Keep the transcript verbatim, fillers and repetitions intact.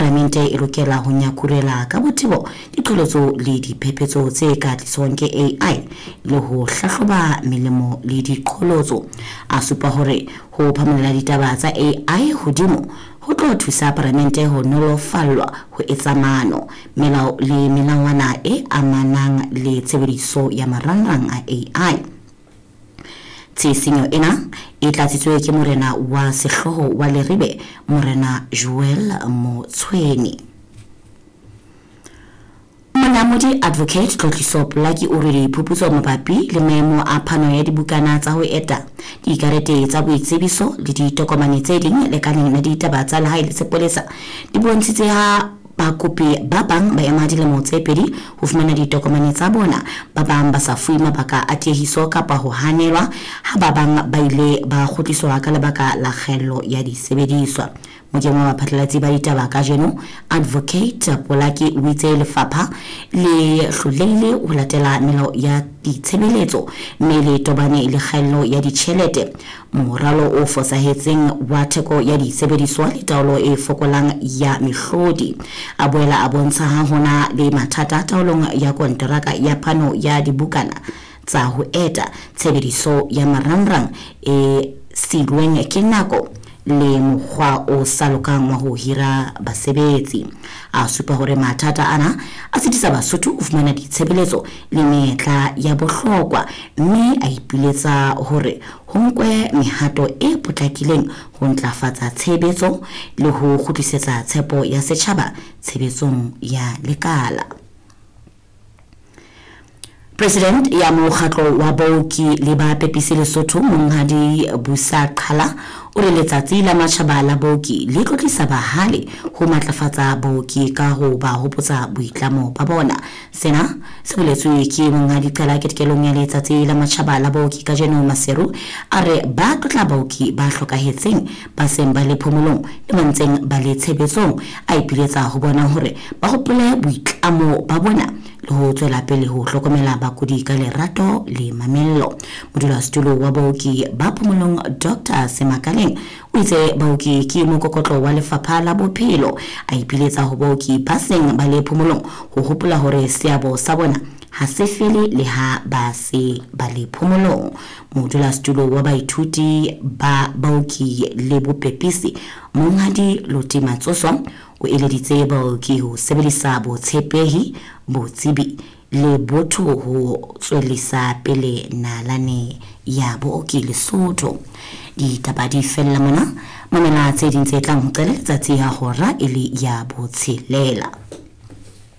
Palamente e lokela ho nyakurela ka botebo diqholotso le diphephetso tse ka tliswang ke A I le ho hlahloba melemo le diqholotso. A supa hore ho phamolela ditaba tsa A I hodimo ho tlo thusa palamente ho nolofallwa ho etsa maano, melao le melawana e amanang le tshebediso ya marangrang a A I. Tshisinyo ena e tlatsitswe ke morena wa sehlooho wa Leribe, Morena Joel Motshweni. Monamodi Advocate Tlotliso Polaki o re diphuputso mabapi le maemo a phano ya dibukana tsa ho eta, dikarete tsa boitsebiso le ditokomane tse ding lekaleng la ditaba tsa lehae le sepolesa di bontshitse ha bakopi ba bang ba ema dilemo tse pedi ho fumana ditokomane tsa bona, ba bang ba sa fuwe mabaka a tiehiso kapa ho hanelwa, ha ba bang ba ile ba kgutliswa ka lebaka la kgaello ya disebediswa. Mokeng wa baphatlalatsi ba ditaba kajeno, Advocate Polaki o itse lefapha le hlolehile ho latela melao ya ditshebeletso mme le tobane le kgaello ya ditjhelete, moralo o fosahetseng wa theko ya disebediswa le taolo e fokolang ya mehlodi. A boela a bontsha ha hona le mathata taolong ya konteraka ya phano ya dibukana tsa ho eta, tshebediso ya marangrang e silweng ke nako le mokgwa o sa lokang wa ho hira basebetsi. A supa hore mathata ana a sitisa Basotho ho fumana ditshebeletso le menyetla ya bohlokwa, mme a ipiletsa hore ho nkwe mehato e potlakileng ho ntlafatsa tshebetso le ho kgutlisetsa tshepo ya setjhaba tshebetsong ya lekala. President ya mokgatlo wa baoki le ba pepisi Lesotho, Monghadi Busa Qhala, o re letsatsi la matjhaba la baoki le tlotlisa bahale ho matlafatsa baoki ka ho ba hopotsa boitlamo ba bona. Sena se boletswe ke Monghadi Qhala ketekelong ya letsatsi la matjhaba la baoki kajeno Maseru. A re ba tlotla baoki ba hlokahetseng, ba seng ba le phomolong le ba ntseng ba le tshebetsong. A ipiletsa ho bona hore ba hopole boitlamo ba bona le ho tswela pele ho hlokomela bakudi ka lerato le mamello. Modulasetulo wa baoki ba phomolong Doctor Semakaleng o itse baoki ke mokokotlo wa lefapha la bophelo. A ipiletsa ho baoki ba seng ba le phomolong ho hopola hore seabo sa bona ha se fele le ha ba se ba le phomolong. Modulasetulo wa baithuti ba baoki le bopepisi Monghadi Loti Matsoso o eleditse baoki ho sebedisa botshepehi, botsebi le botho ho tswellisa pele nalane ya booki Lesotho. Ditaba di fella mona, mamela tse ding tse tlang ho qala letsatsi ha hora e le ya botshelela.